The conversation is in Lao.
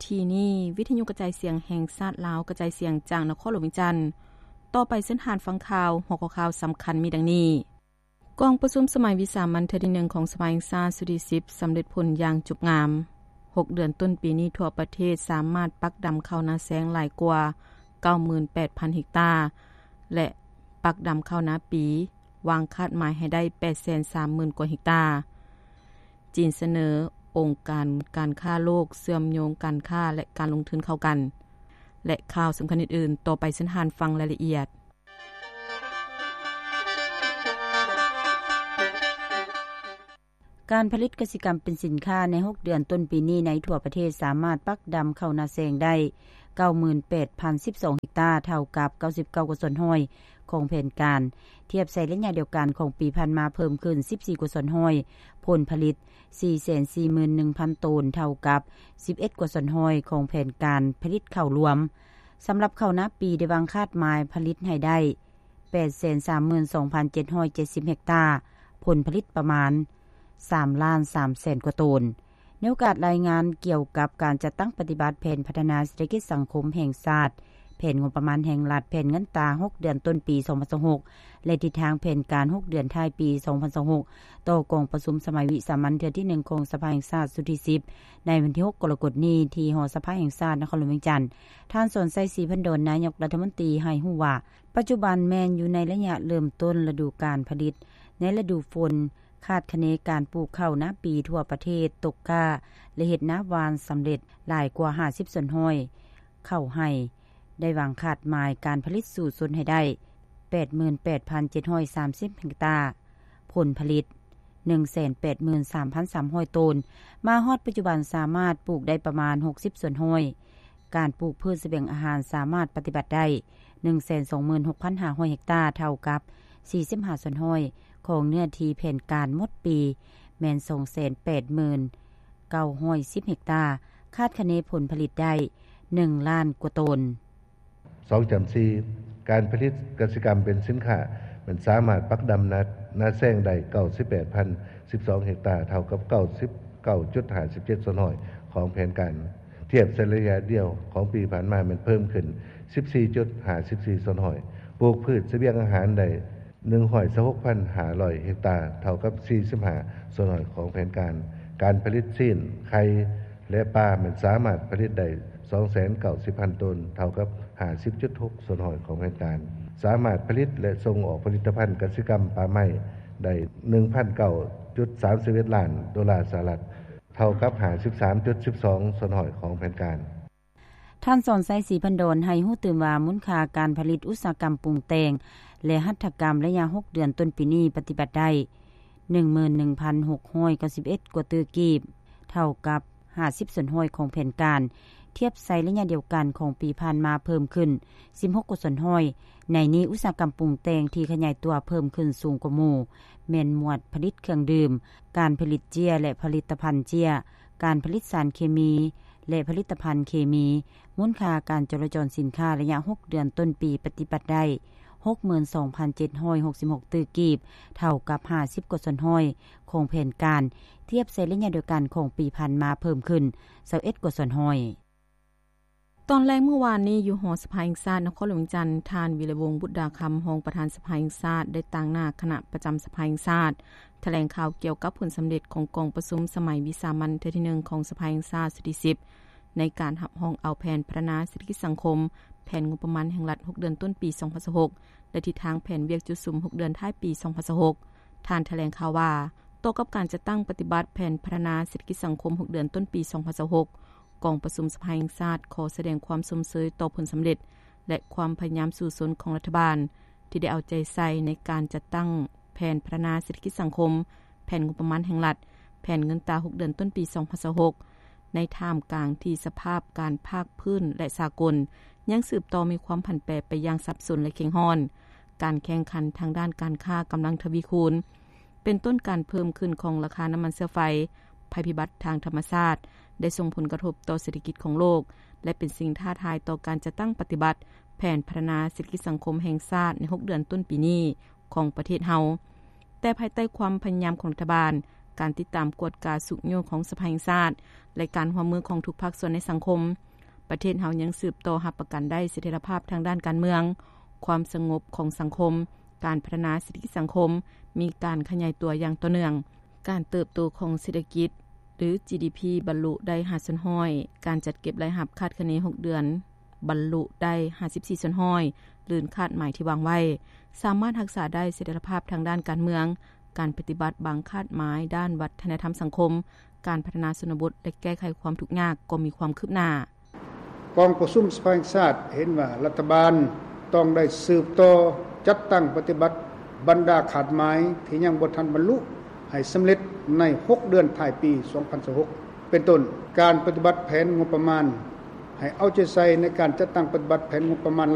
ທີ່ນີ້ ວິທະຍຸກະຈາຍສຽງແຫ່ງຊາດລາວ ກະຈາຍສຽງຈາກນະຄອນຫຼວງວຽງຈັນ. ຕໍ່ໄປເຊີນທ່ານຟັງຂ່າວ. ຫົວຂໍ້ຂ່າວສຳຄັນມີດັ່ງນີ້: ກອງປະຊຸມສະໄໝວິສາມັນເທື່ອທີໜຶ່ງຂອງສະພາແຫ່ງຊາດຊຸດທີສິບ ສຳເລັດຜົນຢ່າງຈົບງາມ. ຫົກເດືອນຕົ້ນປີນີ້ ທົ່ວປະເທດສາມາດປັກດຳເຂົ້ານາແຊງຫຼາຍກວ່າ ເກົ້າໝື່ນແປດພັນເຮັກຕາ ແລະ ປັກດຳເຂົ້ານາປີ ວາງຄາດໝາຍໃຫ້ໄດ້ ແປດແສນສາມໝື່ນກວ່າເຮັກຕາ. ຈີນສະເໜີອົງການການຄ້າໂລກເຊື່ອມໂຍງການຄ້າ ແລະ ການລົງທຶນເຂົ້າກັນ ແລະ ຂ່າວສຳຄັນອື່ນໆ. ຕໍ່ໄປເຊີນທ່ານຟັງລາຍລະອຽດ. ການຜະລິດກະສິກຳເປັນສິນຄ້າໃນຫົກເດືອນຕົ້ນປີນີ້ ໃນທົ່ວປະເທດສາມາດປັກດຳເຂົ້ານາແຊງໄດ້ ເກົ້າໝື່ນແປດພັນສິບສອງເຮັກຕາ ເທົ່າກັບ ເກົ້າສິບເກົ້າກວ່າສ່ວນຮ້ອຍ ຂອງແຜນການ, ທຽບໃສ່ໄລຍະດຽວກັນຂອງປີຜ່ານມາເພີ່ມຂຶ້ນ ສິບສີ່ກວ່າສ່ວນຮ້ອຍ, ຜົນຜະລິດ ສີ່ແສນສີ່ໝື່ນໜຶ່ງພັນໂຕນ ເທົ່າກັບ ສິບເອັດກວ່າສ່ວນຮ້ອຍ ຂອງແຜນການຜະລິດເຂົ້າລວມ. ສຳລັບເຂົ້ານາປີ ໄດ້ວາງຄາດໝາຍຜະລິດໃຫ້ໄດ້ ແປດແສນສາມໝື່ນສອງພັນເຈັດຮ້ອຍເຈັດສິບເຮັກຕາ, ຜົນຜະລິດປະມານ ສາມລ້ານສາມແສນກວ່າໂຕນ. ໃນໂອກາດລາຍງານກ່ຽວກັບການຈັດຕັ້ງປະຕິບັດແຜນພັດທະນາເສດຖະກິດສັງຄົມແຫ່ງຊາດ, ແຜນງົບປະມານແຫ່ງລັດ, ແຜນເງິນຕາຫົກເດືອນຕົ້ນປີສອງພັນຊາວຫົກ ແລະ ທິດທາງແຜນການຫົກເດືອນທ້າຍປີສອງພັນຊາວຫົກ ຕໍ່ກອງປະຊຸມສະໄໝວິສາມັນເທື່ອທີໜຶ່ງຂອງສະພາແຫ່ງຊາດຊຸດທີສິບ ໃນວັນທີຫົກກໍລະກົດນີ້ ທີ່ຫໍສະພາແຫ່ງຊາດນະຄອນຫຼວງວຽງຈັນ, ທ່ານ ສອນໄຊ ສີພັນດອນ ນາຍົກລັດຖະມົນຕີ ໃຫ້ຮູ້ວ່າ ປັດຈຸບັນແມ່ນຢູ່ໃນໄລຍະເລີ່ມຕົ້ນລະດູການຜະລິດ. ໃນລະດູຝົນ ຄາດຄະເນການປູກເຂົ້ານາປີທົ່ວປະເທດຕົກກ້າ ແລະ ເຮັດນາຫວ່ານສຳເລັດຫຼາຍກວ່າຫ້າສິບສ່ວນຮ້ອຍ, ເຂົ້າໄຮ່ ໄດ້ວາງຄາດໝາຍການຜະລິດສູ້ຊົນໃຫ້ໄດ້ ແປດໝື່ນແປດພັນເຈັດຮ້ອຍສາມສິບເຮັກຕາ, ຜົນຜະລິດ ໜຶ່ງແສນແປດໝື່ນສາມພັນສາມຮ້ອຍໂຕນ. ມາຮອດປັດຈຸບັນສາມາດປູກໄດ້ປະມານຫົກສິບສ່ວນຮ້ອຍ. ການປູກພືດສະບຽງອາຫານສາມາດປະຕິບັດໄດ້ ໜຶ່ງແສນສອງໝື່ນຫົກພັນຫ້າຮ້ອຍເຮັກຕາ, ເທົ່າກັບ ສີ່ສິບຫ້າສ່ວນຮ້ອຍ ຂອງເນື້ອທີ່ແຜນການໝົດປີ ແມ່ນ ສອງແສນແປດໝື່ນເກົ້າຮ້ອຍສິບເຮັກຕາ, ຄາດຄະເນຜົນຜະລິດໄດ້ ໜຶ່ງລ້ານກວ່າໂຕນ. ສອງຈ້ຳສີ່ ການຜະລິດກະສິກຳເປັນສິນຄ້າ ແມ່ນສາມາດປັກດຳນາ ນາແຊງໄດ້ ເກົ້າສິບແປດພັນສິບສອງເຮັກຕາ, ເທົ່າກັບ ເກົ້າສິບເກົ້າຈຸດຫ້າສິບເຈັດສ່ວນຮ້ອຍ ຂອງແຜນການ. ທຽບໃສ່ໄລຍະດຽວຂອງປີຜ່ານມາ ແມ່ນເພີ່ມຂຶ້ນ ສິບສີ່ຈຸດຫ້າສິບສີ່ສ່ວນຮ້ອຍ. ປູກພືດສະບຽງອາຫານໄດ້ ໜຶ່ງຮ້ອຍຊາວຫົກພັນຫ້າຮ້ອຍເຮັກຕາ, ເທົ່າກັບ ສີ່ສິບຫ້າສ່ວນຮ້ອຍ ຂອງແຜນການ. ການຜະລິດຊີ້ນ, ໄຂ່ ແລະ ປາ ແມ່ນສາມາດຜະລິດໄດ້ ສອງແສນເກົ້າສິບພັນໂຕນ, ເທົ່າກັບ ຫ້າສິບຈຸດຫົກສ່ວນຮ້ອຍ ຂອງແຜນການ. ສາມາດຜະລິດ ແລະ ສົ່ງອອກຜະລິດຕະພັນກະສິກຳປ່າໄມ້ໄດ້ ໜຶ່ງພັນເກົ້າຈຸດສາມສິບເອັດລ້ານໂດລາສະຫະລັດ, ເທົ່າກັບ ຫ້າສິບສາມຈຸດສິບສອງສ່ວນຮ້ອຍ ຂອງແຜນການ. ທ່ານ ສອນໄຊ ສີພັນດອນ ໃຫ້ຮູ້ຕື່ມວ່າ ມູນຄ່າການຜະລິດອຸດສາຫະກຳປຸງແຕ່ງ ແລະ ຫັດຖະກຳ ໄລຍະຫົກເດືອນຕົ້ນປີນີ້ ປະຕິບັດໄດ້ ໜຶ່ງໝື່ນໜຶ່ງພັນຫົກຮ້ອຍເກົ້າສິບເອັດກວ່າຕື້ກີບ, ເທົ່າກັບ ຫ້າສິບສ່ວນຮ້ອຍ ຂອງແຜນການ. ທຽບໃສ່ໄລຍະດຽວກັນຂອງປີຜ່ານມາ ເພີ່ມຂຶ້ນ ສິບຫົກກວ່າສ່ວນຮ້ອຍ. ໃນນີ້ ອຸດສາຫະກຳປຸງແຕ່ງທີ່ຂະຫຍາຍຕົວເພີ່ມຂຶ້ນສູງກວ່າໝູ່ ແມ່ນໝວດຜະລິດເຄື່ອງດື່ມ, ການຜະລິດເຈ້ຍ ແລະ ຜະລິດຕະພັນເຈ້ຍ, ການຜະລິດສານເຄມີ ແລະ ຜະລິດຕະພັນເຄມີ. ມູນຄ່າການຈໍລະຈອນສິນຄ້າໄລຍະຫົກເດືອນຕົ້ນປີ ປະຕິບັດໄດ້ ຫົກໝື່ນສອງພັນເຈັດຮ້ອຍຫົກສິບຫົກຕື້ກີບ, ເທົ່າກັບ ຫ້າສິບກວ່າສ່ວນຮ້ອຍ ຂອງແຜນການ. ທຽບໃສ່ໄລຍະດຽວກັນຂອງປີຜ່ານມາ ເພີ່ມຂຶ້ນ ຊາວເອັດກວ່າສ່ວນຮ້ອຍ. ຕອນແລງມື້ວານນີ້ ຢູ່ຫໍສະພາແຫ່ງຊາດນະຄອນຫຼວງວຽງຈັນ, ທ່ານ ວິລະວົງ ບຸດດາຄຳ ຮອງປະທານສະພາແຫ່ງຊາດ ໄດ້ຕາງໜ້າຄະນະປະຈຳສະພາແຫ່ງຊາດ ຖະແຫຼງຂ່າວກ່ຽວກັບຜົນສຳເລັດຂອງກອງປະຊຸມສະໄໝວິສາມັນເທື່ອທີໜຶ່ງຂອງສະພາແຫ່ງຊາດຊຸດທີສິບ ໃນການຮັບຮອງເອົາແຜນພັດທະນາເສດຖະກິດສັງຄົມ, ແຜນງົບປະມານແຫ່ງລັດຫົກເດືອນຕົ້ນປີສອງພັນຊາວຫົກ ແລະ ທິດທາງແຜນວຽກຈຸດສຸມຫົກເດືອນທ້າຍປີສອງພັນຊາວຫົກ. ທ່ານຖະແຫຼງຂ່າວວ່າ ຕໍ່ກັບການຈັດຕັ້ງປະຕິບັດແຜນພັດທະນາເສດຖະກິດສັງຄົມຫົກເດືອນຕົ້ນປີສອງພັນຊາວຫົກ, ກອງປະຊຸມສະພາແຫ່ງຊາດຂໍສະແດງຄວາມຊົມເຊີຍຕໍ່ຜົນສຳເລັດ ແລະ ຄວາມພະຍາຍາມສູ້ຊົນຂອງລັດຖະບານ ທີ່ໄດ້ເອົາໃຈໃສ່ໃນການຈັດຕັ້ງແຜນພັດທະນາເສດຖະກິດສັງຄົມ, ແຜນງົບປະມານແຫ່ງລັດ, ແຜນເງິນຕາຫົກເດືອນຕົ້ນປີສອງພັນຊາວຫົກ ໃນທ່າມກາງທີ່ສະພາບການພາກພື້ນ ແລະ ສາກົນ ຍັງສືບຕໍ່ມີຄວາມຜັນແປໄປຢ່າງສັບສົນ ແລະ ເຄັ່ງຮ້ອນ. ການແຂ່ງຂັນທາງດ້ານການຄ້າກຳລັງທະວີຄູນ, ເປັນຕົ້ນການເພີ່ມຂຶ້ນຂອງລາຄານ້ຳມັນເຊື້ອໄຟ, ໄພພິບັດທາງທຳມະຊາດ ໄດ້ສົ່ງຜົນກະທົບຕໍ່ເສດຖະກິດຂອງໂລກ ແລະ ເປັນສິ່ງທ້າທາຍຕໍ່ການຈັດຕັ້ງປະຕິບັດແຜນພັດທະນາເສດຖະກິດສັງຄົມແຫ່ງຊາດໃນຫົກເດືອນຕົ້ນປີນີ້ຂອງປະເທດເຮົາ. ແຕ່ພາຍໃຕ້ຄວາມພະຍາຍາມຂອງລັດຖະບານ, ການຕິດຕາມກວດກາຊຸກຍູ້ຂອງສະພາແຫ່ງຊາດ ແລະ ການຮ່ວມມືຂອງທຸກພາກສ່ວນໃນສັງຄົມ, ປະເທດເຮົາຍັງສືບຕໍ່ຮັບປະກັນໄດ້ສະຖຽນລະພາບທາງດ້ານການເມືອງ, ຄວາມສະຫງົບຂອງສັງຄົມ, ການພັດທະນາເສດຖະກິດສັງຄົມມີການຂະຫຍາຍຕົວຢ່າງຕໍ່ເນື່ອງ, ການເຕີບໂຕຂອງເສດຖະກິດ ຫຼື ຈີດີພີ ບັນລຸໄດ້ ຫ້າສ່ວນຮ້ອຍ, ການຈັດເກັບລາຍຮັບຄາດຄະເນ ຫົກເດືອນ ບັນລຸໄດ້ ຫ້າສິບສີ່ສ່ວນຮ້ອຍ ຫຼື ຄາດໝາຍທີ່ວາງໄວ້, ສາມາດຮັກສາໄດ້ສະຖຽນລະພາບທາງດ້ານການເມືອງ, ການປະຕິບັດບາງຄາດໝາຍດ້ານວັດທະນະທຳສັງຄົມ, ການພັດທະນາຊົນນະບົດ ແລະ ແກ້ໄຂຄວາມທຸກຍາກກໍມີຄວາມຄືບໜ້າ. ກອງປະຊຸມສະພາແຫ່ງຊາດເຫັນວ່າລັດຖະບານຕ້ອງໄດ້ສືບຕໍ່ຈັດຕັ້ງປະຕິບັດບັນດາຄາດໝາຍທີ່ຍັງບໍ່ທັນບັນລຸໃຫ້ສຳເລັດໃນຫົກເດືອນທ້າຍປີສອງພັນຊາວຫົກ ເປັນຕົ້ນ ການປະຕິບັດແຜນງົບປະມານ ໃຫ້ເອົາໃຈໃສ່ໃນການຈັດຕັ້ງປະຕິບັດແຜນງົບປະມານ